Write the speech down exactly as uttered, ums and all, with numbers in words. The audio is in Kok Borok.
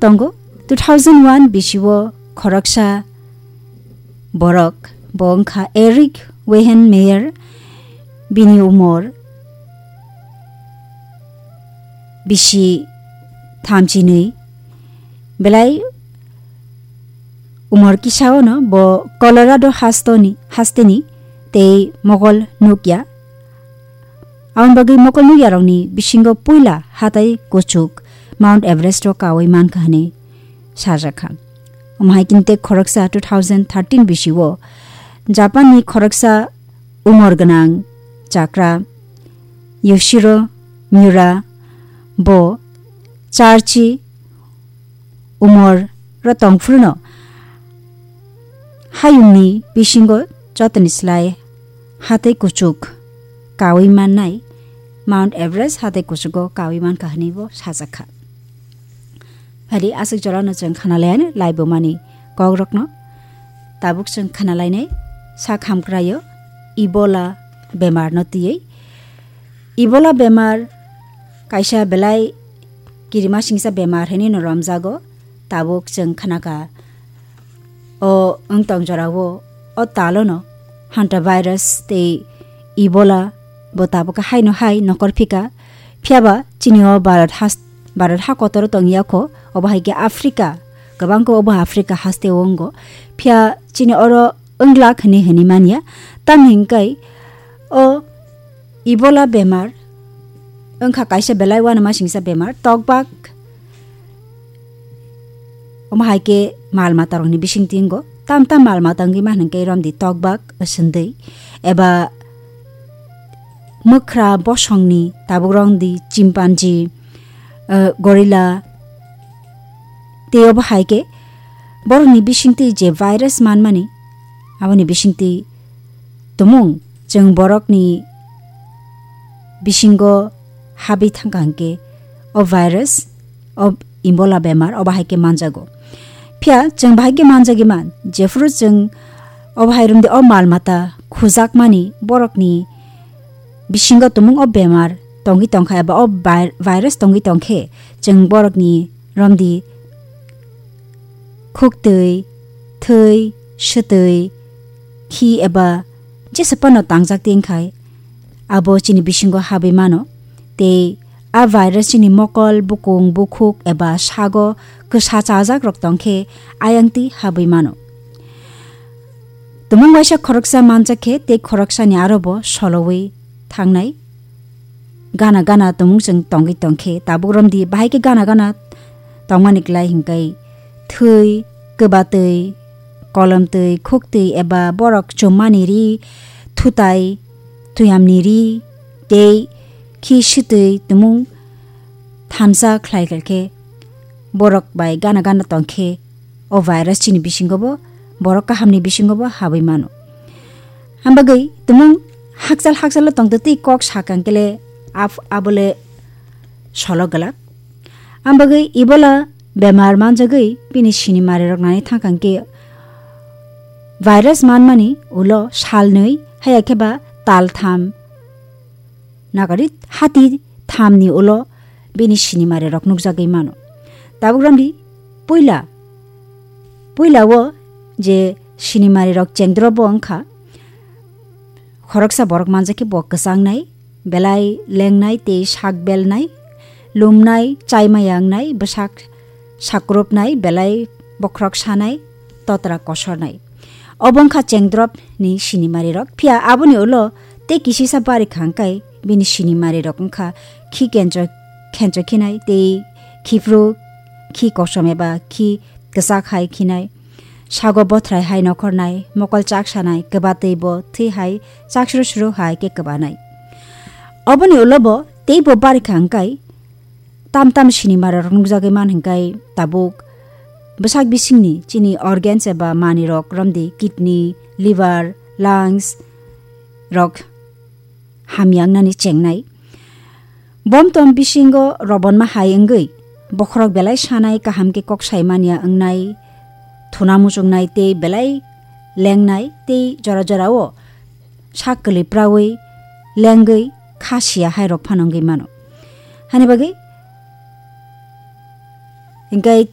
tongo. Two thousand one bisio khoroksa borok, bo wngkha Eric Weihenmayer, bini umor bisi thamchinwi, belai umor kisaono bo Colorado hastoni, hasteni tei mokol nukya. Aboni bagwi mokol nukyarokni bisingo puila hatai kuchuk Mount Everest o kaui mankha hwnwi sajakha. Omo hai khe tei khoroksa two thousand thirteen bisio Japanni khoroksa umor gwnang chakra Yoshiro Miura bo charchi umor ro tongphuru no hayungni bisingo jotoni slai hatai kuchuk kaui mannai, Mount Everest hatai kuchugo kaui mankha hwnwi bo sajakha. Phari aswk jorano chwng khanalaiyani laibumani kokrokno. Tabuk chwng khanalainai sak hamkraio Ebola bemarno twiwi. Ebola bemar kaisa belai kirimasingsa bemar hwnwi no romjago. Tabuk chwng khanakha o wngtong jorao o talono hantavirus tei Ebola bo tabuk haino hai nokor phika. Phiyaba chini o Bharat has-, Bharat ha kotoro tongya kho, obo hai khe Africa, kwbang khe obo Africa haste o wngo. Phiya chini oro wnglak hwnwi hwnwi manya. Tamni hwnkhai o Ebola bemar wngkha kaisa belai uanamasingsa bemar, tokbak. Omo hai khe mal matarokni bisingtwi wngo. Tam tam mal mata wngwi ma hwnkhe romdi tokbak, swndwi, eba mwkhra bosongni tabuk romdi chimpanzee, eh, gorilla, tei obo hai khe borokni bisingtwi je virus manmani, aboni bisingtwi tumung chwng borokni bisingo habwi thangkha hwnkhe o virus, o Ebola bemar obo hai khe manjago. Phiya chwng bahai khe manjagwi man, jephuru chwng obo hai romdi o mal mata khujakmani borokni bisingo tumung o bemar tongwi tongkha eba o vi-, virus tongwi tongkhe chwng borokni romdi khuktwi, thwi, swtwi, khi eba jesa phano tangjak tei wngkhai abo chini bisingo habwi mano tei a virus chini mokol, bukung, bukhuk eba sago kwsa chajakrok tongkhe ayang twi habwi mano. Tumung waisa khoroksa manjak khe tei khoroksani aro bo solowi thangnai. Gana gana tumung chwng tongwi tongkhe tabuk romdi bahai khe gana gana tongmani klai hwnkhe thwi, kwbatwi, kolomtwi, khuktwi eba borok chummani ri, thutai, thuyamni ri tei khi swtwi tumung thansa khlai khlai khe borok bai gana gana tongkhe o virus chini bisingo bo, borok kahamni bisingo bo habwi mano. Hambagwi tumung hakchal hakchalo tongtwi twi kok sakang kele af-, abole solo glak. Hambagwi Ebola bemar manjagwi bini sinimari rok nani thangkang khe virus manmani ulo salnwi haya khe ba taltham nagari hati thamni ulo bini sinimari rok nukjagwi mano. Tabuk ramdi puila, puila o je sinimari rok chengdro bo wngkha, khoroksa borok manjakhe bo kwchangnai, belai lengnai tei sak belnai, lumnai, chaimaya wngnai, bwsak sakrupnai, belai bokhorok sanai, totra kosornai. Obo wngkha chengdrop ni sinimari rok. Phiya aboni ulo tei kisisa bari khangkai bini sinimari rok wngkha khi kencho, khencho khinai tei khiphru, khi kosom eba khi kwchak hai khinai. Sago bothrai hai nokhornai, mokol chak sanai, kwbatwi bo thwi hai chak suru suru hai khe kwbanai. Oboni ulo bo tei bo bari khangkai tam tam sinimari rok nukjagwi man hwnkhe tabuk bwsak bisingni chini organs eba manwi rok romdi kidney, liver, lungs rok hamya wngnani chengnai. Bomtom bisingo robonma hai wngwi bokhorok belai sanai kaham khe kok sai manya wngnai, thuna muchungnai tei belai lengnai tei jora jorao sak kwlwi prawi lengwi kha siya hai rok phano wngwi mano. Hani bagwi hwnkhe tei